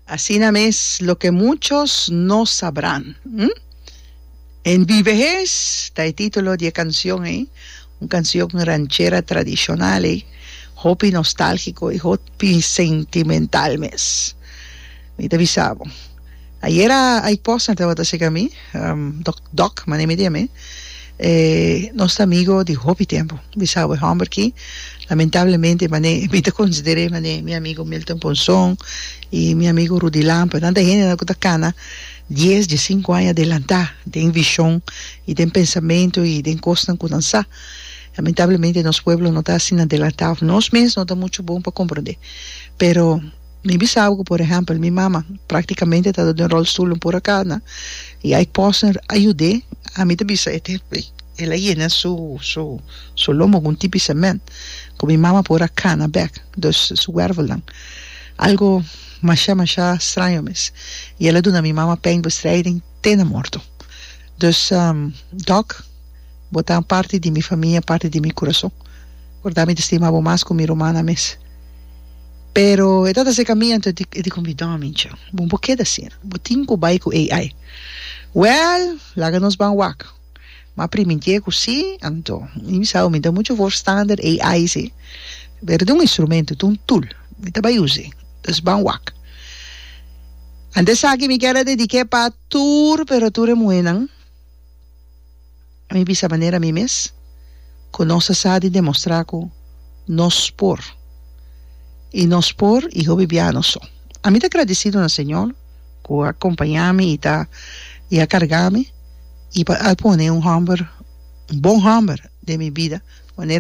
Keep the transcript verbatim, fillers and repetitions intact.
Asina mes, "Lo que muchos no sabrán". Hm? En mi vejez, ta e título di e kanshon, eh? Un kanshon ranchera tradishonal, eh? Hopi nostálgiko i hopi sentimental mes. Mi ta bisa bo. Ayera ay post na tabata serka mi, um, doc, doc, mane mi dime, eh, nos amigo di hopi tempu. Bisa bo hòmber ki, lamentablemente, mane, mi ta konsider'é mane, mi amigo Milton Ponson i mi amigo Rudy Lampe, tanta hende na ku ta kana dies, diesinku aña adelantá, den vishon i den pensamentu i den kosnan ku nan sa. Lamentablemente nos pueblo no ta asina adelantá, nos mes no ta muchu bon pa komprondé. Pero mi bisa ku, por ehèmpel, mi mama práktikamente ta den rolstoel un por akana i Ike Posner a yud'é, ami ta bisa e el a yena su su su lomo ku un tipi cement ku mi mama por a kana bèk, dus su wervelnan. Algo masha masha straño mes. I el a duna mi mama pijnbestrijding te na morto. Dus um, Doc, bo ta parti di mi famia, parti di mi kurason. Korda, mi ta stima bo mas ku mi ruman mes. Pero e tata se caminha, anto e di convidou mincha. Bon, bo keda asina. Bo tin ku bai ku A I. Well, laga nos ban wak. Ma primintié ku si, anto mi sa mi ta muchu voorstander A I si. Pero ta un instrumento, un tool. Mi ta bai usa. Dus ban wak. Anto esaki mi ke dedik'é pa tur, pero tur e muhénan. Mi bisa manera mi mes, ku nos sa di demostrá ku nos por. I nos por i hopi bia nos so. Ami ta gradesido na Señor ku a kompañá mi i ta i a karga mi i pa a pone un hòmber, un bon hòmber den mi bida.